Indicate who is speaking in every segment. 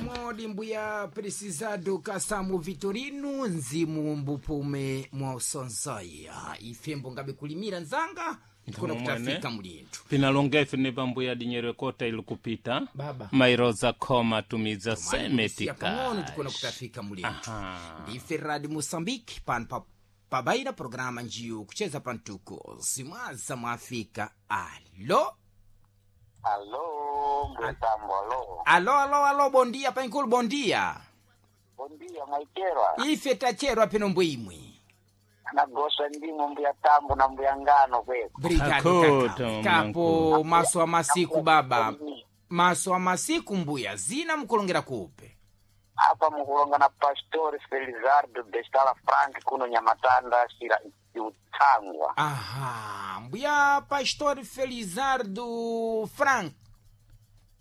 Speaker 1: Modi mbuya precisado kasamu Vitorino nzimu mbupume mwa usonzoya ifembo ngabe kulimira nzanga tikona
Speaker 2: Mwene.
Speaker 1: kutafika mulinthu
Speaker 2: Pinalonga ife ne pambuya dinyero kota ili kupita
Speaker 1: Baba.
Speaker 2: Mairoza khoma tumiza
Speaker 1: Siya pang'ono tikona
Speaker 2: semetika
Speaker 1: kutafika mulinthu
Speaker 2: Aha.
Speaker 1: ndife radi Moçambique pano pa pabaina programa njiyo kucheza pantuko zimwaza mwafika alo.
Speaker 3: Alô, mbuyatambo, alô.
Speaker 1: Alo alo alo, bondia pankulu, bondia.
Speaker 3: Bom dia, mwaicherwa.
Speaker 1: Ife tacherwa peno mbwimwe.
Speaker 3: Nagoswa ndimo mbuyatambo na mbuyangano kweko.
Speaker 1: Brigado
Speaker 2: Hakota,
Speaker 1: kaka.
Speaker 2: mwanangu.
Speaker 1: Kapo maso a masiku baba, maso a masiku mbuya zina mkulongera kupe.
Speaker 3: Apa mukulonga na Pastor Felizardo Bestala Frank kuno Nyamatanda shira Utsangwa.
Speaker 1: Aha, mbuya Pastor Felizardo Frank,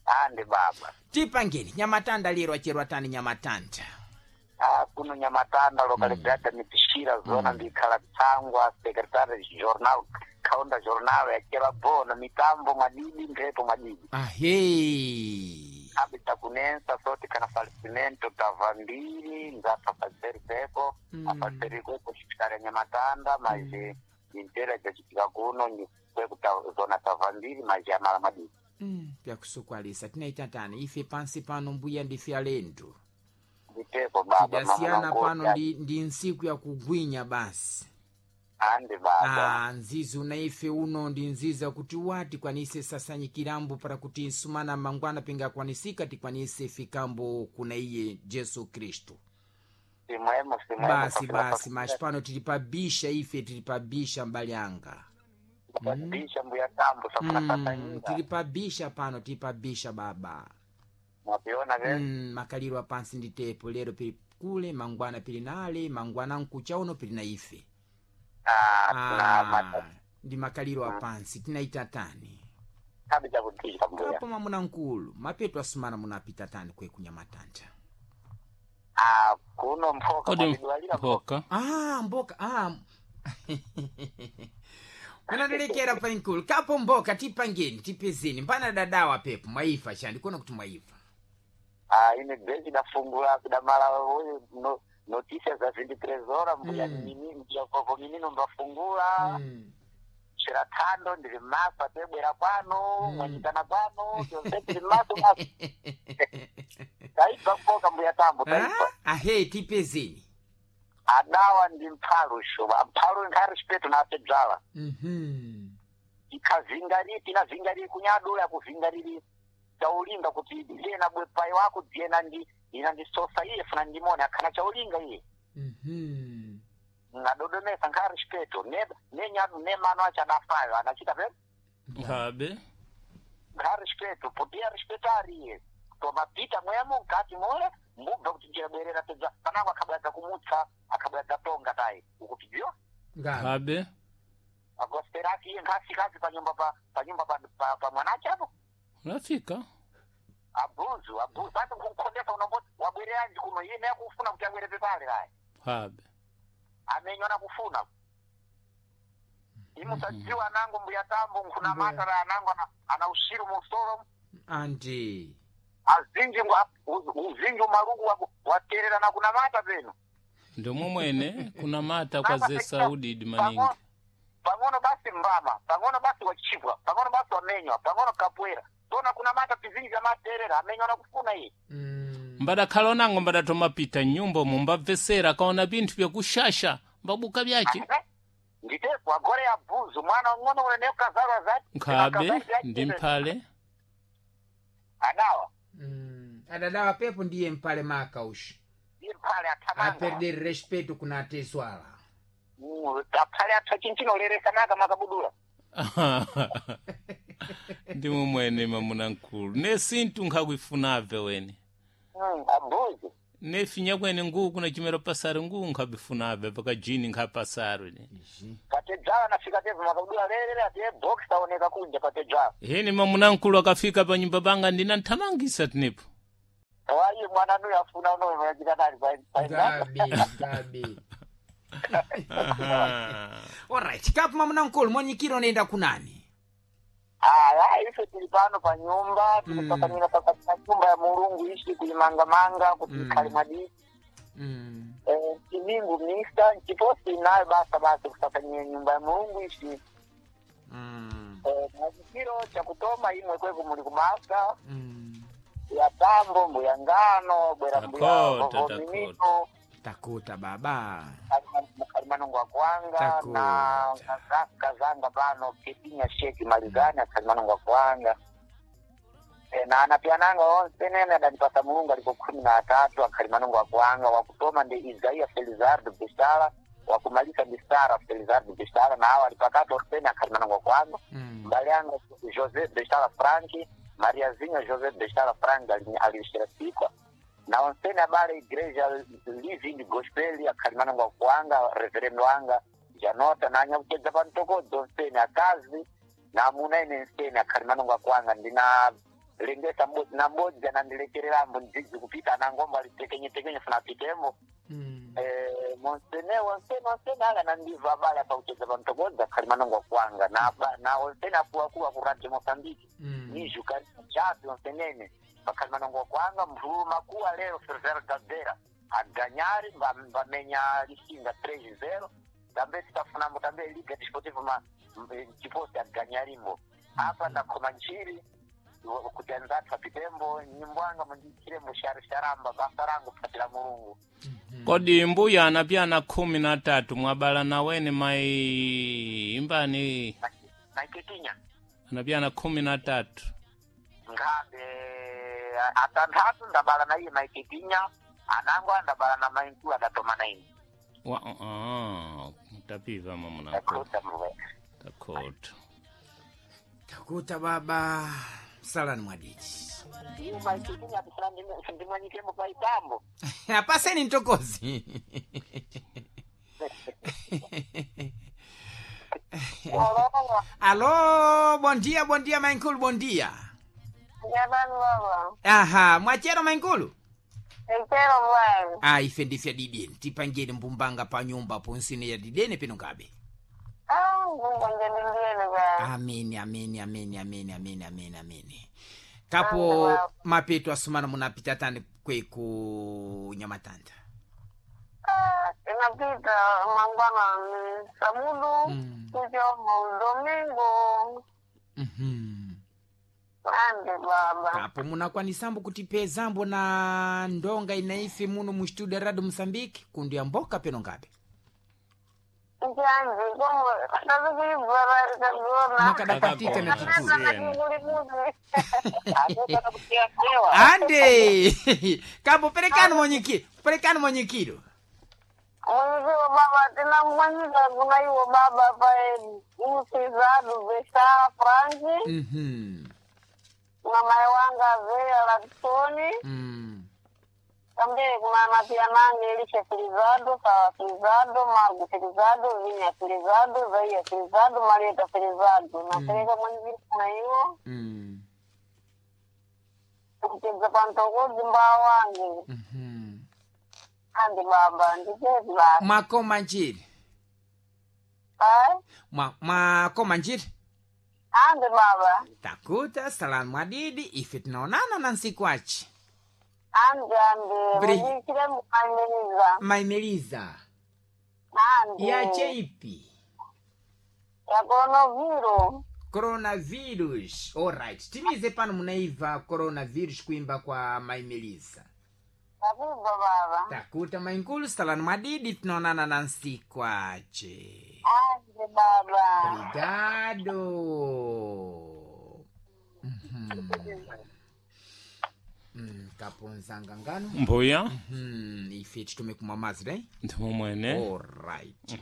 Speaker 3: Ande baba.
Speaker 1: tipangeni Nyamatanda lero acherwa tani Nyamatanda.
Speaker 3: Ah, kuno Nyamatanda localidade Mipishira zona ndikhala Tsangwa secretary jornal kaunda jornal yakela bono mitambo mwadidi mphepo mwadidi.
Speaker 1: Ahe.
Speaker 3: Abita kunensa soti kana falecimento tava mbiri nzapfa faseri pepo afaseri kwepo chipitala Nyamatanda maje intera jachitika kuno ni kweku zona tava mbiri maje amala madidi.
Speaker 1: Pyakusukwalisa tinaita tani ife pansi pano mbuya ndife alendo.
Speaker 3: Nditepo baba.
Speaker 1: Tidasiyana
Speaker 3: mama
Speaker 1: pano
Speaker 3: ngoja.
Speaker 1: ndi nsiku ya kugwinya basi.
Speaker 3: Ande baba.
Speaker 1: Ah, nzizi una ife uno ndi nzizi akuti wati kwanise sasanyikirambo para kuti nsumana mangwana pingakwanisika tikwanise fikambo kuna iye Jesu Kristu.
Speaker 3: Simwemo simwemo.
Speaker 1: Basi basi mas pano tili pabisha ife tili pabisha mbali anga.
Speaker 3: Bisha mbuya tambo safuna sasanyika.
Speaker 1: Tili pabisha pano tili pabisha baba.
Speaker 3: Mwapiona ve.
Speaker 1: Makaliro apansi ndi tepo lero pili kule mangwana pili nale mangwana nkucha uno pili na ife.
Speaker 3: Ah, na mata.
Speaker 1: Ndi makaliro apansi tinaita tani.
Speaker 3: Kabi chakutisha mbuya.
Speaker 1: Kapo mamuna nkulu mapeto asumana munapita tani kwe kunyamatanda.
Speaker 3: Ah, kuno mphoka
Speaker 2: Kodi
Speaker 3: mwatidwalira
Speaker 2: mpoka.
Speaker 1: Ah, mboka ah. Munadilekera pankulu kapo mboka tipangeni tipezeni mbana dadawa pepo mwaifa chandi kuona kuti mwaifa.
Speaker 3: Ah, ine bheki dafungula kudamala uyu no, notícia za 23 horas mbuya mini mbuya vovo minino mbafungula xirathando ndiri maso atebwera kwano mwanyikana kwano tyonse tiri maso maso taibva mpoka mbuya tambo taibva.
Speaker 1: Ah, ahe tipezeni.
Speaker 3: Adawa ndi mphalu xuva mphalu nkhari xipeto na apedzala. Ikhavingariri tinavingariri kunyadula kuvingariri chaulinga kuti iye na bwepai wako dziyena ndi ina ndi sosa iye funa ndimone akhana chaulinga iye. Ngadodomesa nkhari xipeto ne ne nyadu ne mano acho adafayo anachita pe.
Speaker 2: Habe.
Speaker 3: Nkhari xipeto potia respetari iye tomapita mwemo mkati mole mbubva kuti njirabwerera pedza panango akhabwadza kumutsa akhabwadza tonga tayi ukutidziwa.
Speaker 1: Ngabe.
Speaker 2: Habe.
Speaker 3: Agosteraki iye nkhafikazi panyumba pa panyumba pa, pa, pa mwanache apo.
Speaker 2: Unafika.
Speaker 3: Abuzu abuzu basi nkukhondesa unombo wabwereranji kuno iye naye kufuna kuti abwere pepale kayi.
Speaker 2: Habe.
Speaker 3: Amenywa nakufuna imusadziwa anango mbuya tambo nkhuna matara anango ana usiru musoro.
Speaker 1: Anti.
Speaker 3: Azinji uzinji umaluku waterera na kunamata peno.
Speaker 2: Ndomwe mwene kunamata kwa zesaudi idi maningi.
Speaker 3: Pang'ono basi mbama pang'ono basi wachibwa pang'ono basi wamenywa pang'ono kapwera tona kunamata pizinji amaterera amenywa nakufuna iye.
Speaker 2: Mbadakhala onango mbadatomapita nyumba umu mbabvesera kaona pinthu byakushasha mbabuka byace.
Speaker 3: Nditepo agore abuzu mwana ung'ono unene ukazalwa zati.
Speaker 2: Nkhabe ndi mphale.
Speaker 3: Adawa.
Speaker 1: Adadawa pepo ndiye mpale maka ushi.
Speaker 3: Ndiye mphale athamanga.
Speaker 1: Aperder respeto kuna atezwala.
Speaker 3: Aphale atha chinchinoleresa naka makabudula.
Speaker 2: Ndimwe mwene mamuna nkulu ne sinthu nkhakuifunabve wene.
Speaker 3: Abuzu.
Speaker 2: Ne finya kwene nguku kuna chimero pasari nguku nkhabifunabve paka jini nkhapasari ne.
Speaker 3: Patedzala nafika tevu makabudula lerere ati box taoneka kunja patedzala.
Speaker 2: Hene mamuna nkulu akafika pa nyumba panga ndinanthamangisa tinepo.
Speaker 3: Wayi mwana nuyo afuna unoyo wachita nali pa
Speaker 1: Ngabi, ngabi.
Speaker 2: Aha.
Speaker 1: Alright, kapo mamuna nkulu mwanyikiro unaenda kunani?
Speaker 3: Aya. Ife tili pano pa nyumba tikusakamira pakati pa nyumba ya Mulungu ishi kulimangamanga kuti ikhale mwadiki. Timingu mista nchiposi nayo basa basi kusakanyira nyumba ya Mulungu ishi. Mwachikiro chakutoma imwe kweko muli kubasa ya tambo mbuya ngano bwera mbuya
Speaker 2: Takota,
Speaker 3: vovominito
Speaker 1: Takuta baba.
Speaker 3: mukalimanongo akwanga na
Speaker 1: Takuta.
Speaker 3: kazanga pano ketinya sheki malizani akalimanongo akwanga. Na anapiananga onse nene adanipasa Mulungu aliko 13 akhalimanongo akwanga. Wakutoma ndi Isaia Felizardo Bisala, wakumalisa ndi Sara Felizardo Bisala, na awo alipakati onsene akhalimanongo akwanga. Mbale yanga José Besala Franki, Mariazinha José Besala Franki alishira sikwa na onsene abale igreja Living Gospel akhalimanongo akwanga, reverendo wanga Janota na anyakuchedza pantokodzo onsene akazi na amuna ine nsene akhalimanongo akwanga. Ndina lengesa mbodzi na mbodzi anandilekererambo ndidzidzi kupita anangombo alitekenyetekenye funa apitemo. Monsene onsene onsene ala nandiva abale apauchedza pantokodza akhalimanongo akwanga na onsene akuwakuwa ku Radio Mozambique nijuka chapi onsenene pakhalimanongo akwanga. Mvulu makuwa lero Fervero Gabera aganyari mbamenya Lisinga 3-0 tambe titafunambo tambe Liga Desportiva ma chiposi aganyarimbo apa ndakhoma nchiri kuti anzathu apitembo nyimbwanga mundiichirembo sharisharamba basa rangu kupatira Mulungu.
Speaker 2: Kodi mbuya anapyana 13 mwabala nawene mai imbani
Speaker 3: Maiketinya
Speaker 2: anapyana 13.
Speaker 3: Ngabe atanthatu ndabala na iye maiketinya anango andabala na mainkulu adatoma na ine.
Speaker 2: Wa tapiva mamuna.
Speaker 3: Takuta mwe.
Speaker 2: Takuta.
Speaker 1: Takuta baba. Salani mwadiji.
Speaker 3: Iye maiketinya atifuna ndimwanyikembo paitambo.
Speaker 1: Apaseni ntokozi. Alô, bom dia, bom dia, mainkulu, bom dia.
Speaker 4: Jamani baba.
Speaker 1: Aha, mwachero mainkulu?
Speaker 4: Echero bwana.
Speaker 1: Ah, ife ndife dideni. Tipangeni mbumbanga pa nyumba ponsine ya dideni pino ngabe.
Speaker 4: Ah, Mungu anjalilie bwana.
Speaker 1: Ameni, ameni, ameni, ameni, ameni, ameni, ameni. Kapo mapeto asumana munapita tani kweku nyamatanda.
Speaker 4: Ah, inapita mangwana ni sabudu kucho domingo. Ande baba.
Speaker 1: Kapo munakwanisambo kutipezambo na ndonga inaife muno mu studio Radio Mozambique kundu ya mboka peno ngabe.
Speaker 4: Njanji komo tazikuibvara ikagona.
Speaker 1: Makadapatika na
Speaker 2: Takagona.
Speaker 1: tuturu.
Speaker 3: Akutana kusiyasewa.
Speaker 1: Ande! Kapo perekani mwenyekiro, perekani mwenyekiro.
Speaker 4: Mwenyeziwo baba tina mwanyika kuna iwo baba pae musizadu Besara Franki na mai wanga Zeya Laksoni. Tambe kuna napia nange Elisha Filizado, Sawa Filizado, Magu Filizado, Vinya Filizado, Zaia Filizado, Marieta Filizado. Napeleka mwenyezi kuna iwo kuchedza pantokodzi mbaa wange. Andi baba, ndichezi baba.
Speaker 1: Mwakoma njiri.
Speaker 4: Ai?
Speaker 1: Mwakoma njiri.
Speaker 4: Andi baba.
Speaker 1: Takuta salamu mwadidi ife tunaonana na nsiku achi.
Speaker 4: Andi andi. Mudichire mukamiriza.
Speaker 1: Maimeliza.
Speaker 4: Andi.
Speaker 1: Yache ipi?
Speaker 4: Ya coronavirus.
Speaker 1: Coronavirus. Alright. Timize pano munaiva coronavirus kuimba kwa Maimeliza.
Speaker 4: Takuva baba.
Speaker 1: Takuta mainkulu salani mwadidi tunaonana na nsiku ache.
Speaker 4: Andi baba.
Speaker 1: Obrigado. Kaponzanga ngano.
Speaker 2: Mbuya
Speaker 1: Ife titume kumwa mazi, né?
Speaker 2: ndimo mwene.
Speaker 1: Alright.